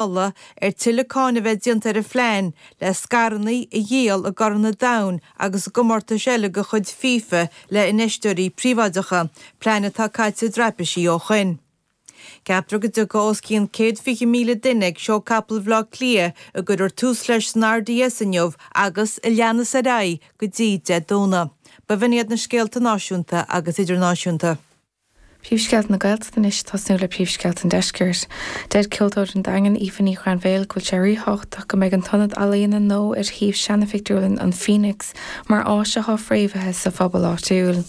Moladh ar tuilleadh cáineadh a bheith déanta ar an phlean le scaireanna a dhíol i gCorn an Domhain agus i gcomórtais eile de chuid FIFA le infheisteoirí príobháideacha, plean atá caite i dtraipisí ó shoin. Ceaptar go dtiocfaidh os cionn 120,000 duine ag Seó Capall Bhaile Átha Cliath a gcuirfear tús leis san RDS inniu agus a leanfas ar aghaidh go dtí Dé Domhnaigh. B'in iad na scéalta náisiúnta agus idirnáisiúnta. Príomhscéalta na Gaeltachta anois, tosnú le príomhscéalta an Deiscirt. Deir ceoltóir an Daingin, Aoife Ní Ghrainbhéil, go bhfuil sé ríthábhachtach go mbeidh an t-ionad ealaíona nua ar shuíomh seana-phictiúrlann an Phoenix mar áis atá fréamhaithe sa phobal áitiúil.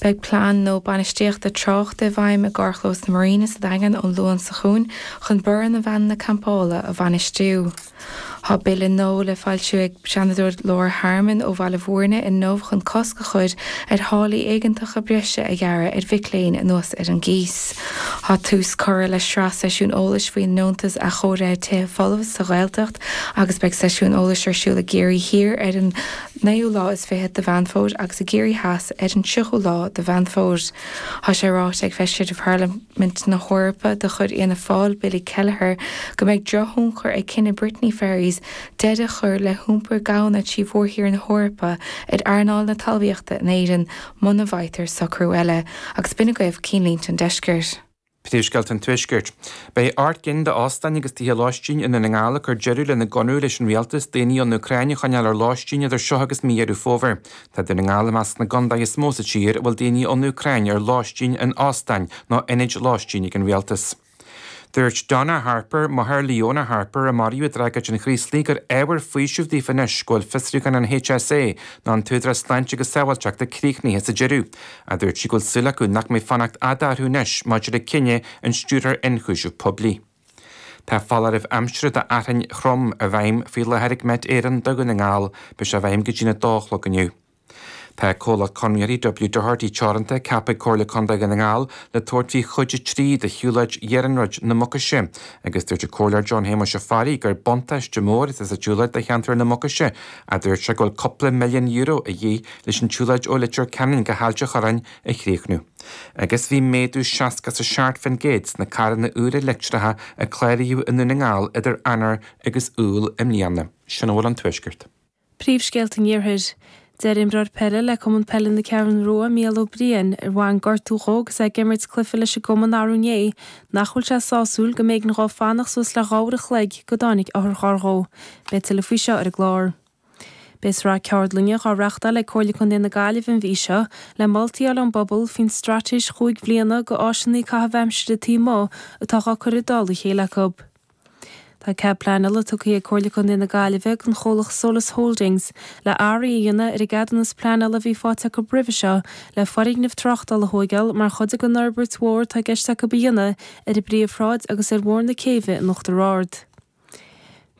Beidh plean nua bainistíochta tráchta i bhfeidhm i gcarrchlós na Marina sa Daingean ón Luan seo chugainn chun borradh na veaineanna campála a bhainistiú. Tá bille nua le foilsiú ag Seanadóir Laura Harmon ó Bhaile Bhúirne inniu chun cosc a chur ar tháillí éigeantacha breise a ghearradh ar mhic léinn anuas ar an gcíos. Tá tús curtha le sraith seisiún eolais faoin nDeontas Athchóirithe Tithe Folmha sa Ghaeltacht agus beidh seisiún eolais ar siúl i gCiarraí Thiar ar an naoú lá is fichead de Mheán Fómhair agus i gCiarraí Theas ar an tríochú lá de Mheán Fómhair. Tá sé ráite ag Feisire de Pharlaimint na hEorpa de chuid Fhianna Fáil, Billy Kelleher, go mbeidh drochthionchar ag cinneadh Brittany Ferries deireadh a chur le hiompar gamhna trí mhórthír na hEorpa ar earnáil na talmhaíochta in Éirinn muna bhfaightear socrú eile. Agus b'in agaibh cinnlínte an deiscirt. Príomhscéalta an Tuaiscirt. Beidh 8 gcinn d'óstáin agus tithe lóistín i nDún na nGall ag cur deireadh lena gconradh leis an rialtas daoine ón Úcráin a choinneáil ar lóistín idir seo agus mí Dheireadh Fómhair. Tá Dún na nGall i measc na gcontaetha is mó sa tír a bhfuil daoine ón Úcráin ar lóistín in óstáin nó ionaid lóistín ag an rialtas. Dúirt Donna Harper, máthair Leona Harper, a maraíodh i dtragóid an Chraoslaigh, gur ábhar faoisimh daofa anois go bhfuil fiosrúchán an HSA, nó an tÚdarás Sláinte agus Sábháilteachta, críochnaithe sa deireadh. Ach dúirt sí go bhfuil súil acu nach mbeidh fanacht fhada orthu anois maidir le cinneadh an Stiúrthóir Ionchúiseamh Poiblí. Tá foláireamh aimsire d'fhearthainn throm i bhfeidhm faoi láthair ag Met Éireann do Dhún na nGall. Beidh sé i bhfeidhm go dtí'n 2 a chlog inniu. Tá comhlacht conraitheoirí W Doherty Teoranta ceaptha ag Comhairle Contae Dhún na nGall le tabhairt faoi chuid 3 de shiúlóid iarnróid na Mucaise agus dúirt an Comhairleoir John Shéamuis Ó Fearraigh gur buntáiste mór atá sa tsiúlóid do cheantar na Mucaise ach dúirt sé go bhfuil cúpla milliún euro a dhíth leis an tsiúlóid ó Leitir Ceanainn go hAilt an Chorráin a chríochnú. Agus bhí méadú 67% sna carranna úra leictreacha a cláraíodh i nDún na nGall idir Eanáir agus Iúil i mbliana. Sin a bhfuil ón Tuaisceart. Príomhscéalta an Iarthair. Deir imreoir peile le Cumann Peile na Ceathrún Rua, Mícheál Ó Briain, ar bhain gortú dhó agus é ag imirt cluiche leis an gcumann arú inné, nach bhfuil sé sásúil go mb'éigean dhó fanacht suas le 2 uair a chloig go dtáinig otharcharr dhó. Beidh tuilleadh faoi seo ar an gclár. Beidh sraith ceardlainne dhá reachtáil ag Comhairle Contae na Gaillimhe an mhí seo le moltaí a fháil ón bpobal faoin straitéis chúig bhliana go áiseanna caitheamh aimsire taobh amuigh atá dhá cur i dtoll a chéile acu. Tá cead pleanála tugtha ag Comhairle Contae na Gaillimhe don chomhlacht Solas Holdings le athruithe a dhéanamh ar an gceadúnas pleanála a bhí faighte acu roimhe seo le foirgneamh tráchtála a thóigeáil mar chuid den fhorbairt mhór atá i gceist acu a dhéanamh ar an bPríomhshráid agus ar Bhóthar na Céibhe in Uachtar Ard.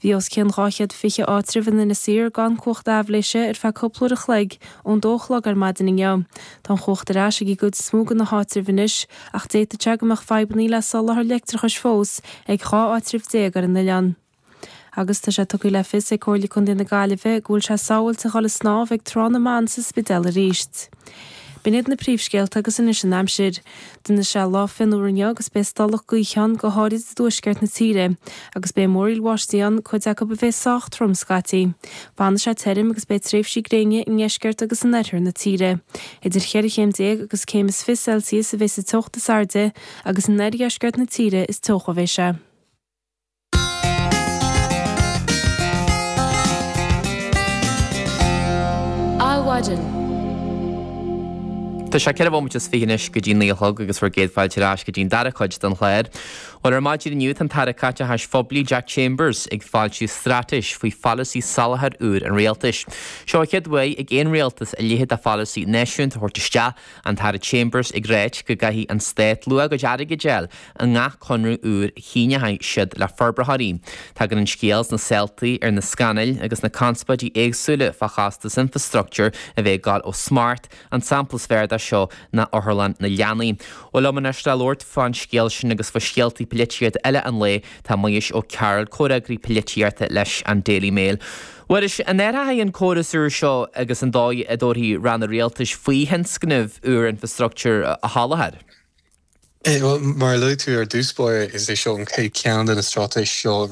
Bhí os cionn 220 áitreabh in Inis Oírr gan cumhacht aibhléise ar feadh cúpla uair a chloig ón dó a chlog ar maidin inniu. Tá an chumhacht ar ais ag an gcuid is mó de na háitribh anois ach d'fhéadfadh sé go mbeadh fadhbanna le soláthar leictreachais fós ag 12 áitreabh ar an oileán. Agus tá sé tugtha le fios ag Comhairle Contae na Gaillimhe go bhfuil sé sábháilte a dhul ag snámh ag Trá na mBan sa Spidéal arís. B'in iad na príomhscéalta agus anois an aimsir. Déanfaidh sé lá fionnuar inniu agus beidh stolladh gaoithe ann go háirid i dtuaisceart na tíre agus beidh múraíl bháistí ann, cuid acu a bheidh sách trom scaití. Fanfaidh sé tirim agus beidh tréimhsí gréine i ndeisceart agus in oirthear na tíre. Idir cheithre chéim déag agus céim is fiche Celsius a bheidh sa teocht is airde agus in oirdheisceart na tíre is teocha a bheidh sé. Adhmhaidin. Tá sé ceithre bhomaite is fiche anois go dtí 9 a chlog agus bhur gcéad fáilte ar ais go dtí an dara cuid den chlár. Bhuel, ar maidin inniu tá an tAire Caiteachais Phoiblí Jack Chambers ag foilsiú straitéis faoi pholasaí soláthair úr an rialtais. Seo an chéad uair ag aon rialtas a leithéid de pholasaí náisiúnta a thabhairt isteach, an tAire Chambers ag ráit go gcaithfidh an stát luach a gcuid airgid a fháil i ngach conradh úr a shíneoidh siad le forbraitheoirí. Tagann an scéal sna saoltaí ar na scannail agus na conspóidí éagsúla fá chostas infrastructúir a bheith ag gabháil ó smacht, an sampla is fearr de seo ná Otharlann na Leanaí. Bhuel liom anois le labhairt fán scéal sin agus fá scéaltaí polaitíochta eile an lae tá Muiris Ó Cearúil, comhfhreagraí polaitíochta leis an Daily Mail. Mhuiris, an athróidh an córas úr seo agus an dóigh a dtabharfaidh ranna rialtais faoi thionscnaimh úr infrastructúir a sholáthar? Bhuel, mar a luaigh tú ar dtús báire, is é seo an chéad cheann de na straitéisí seo.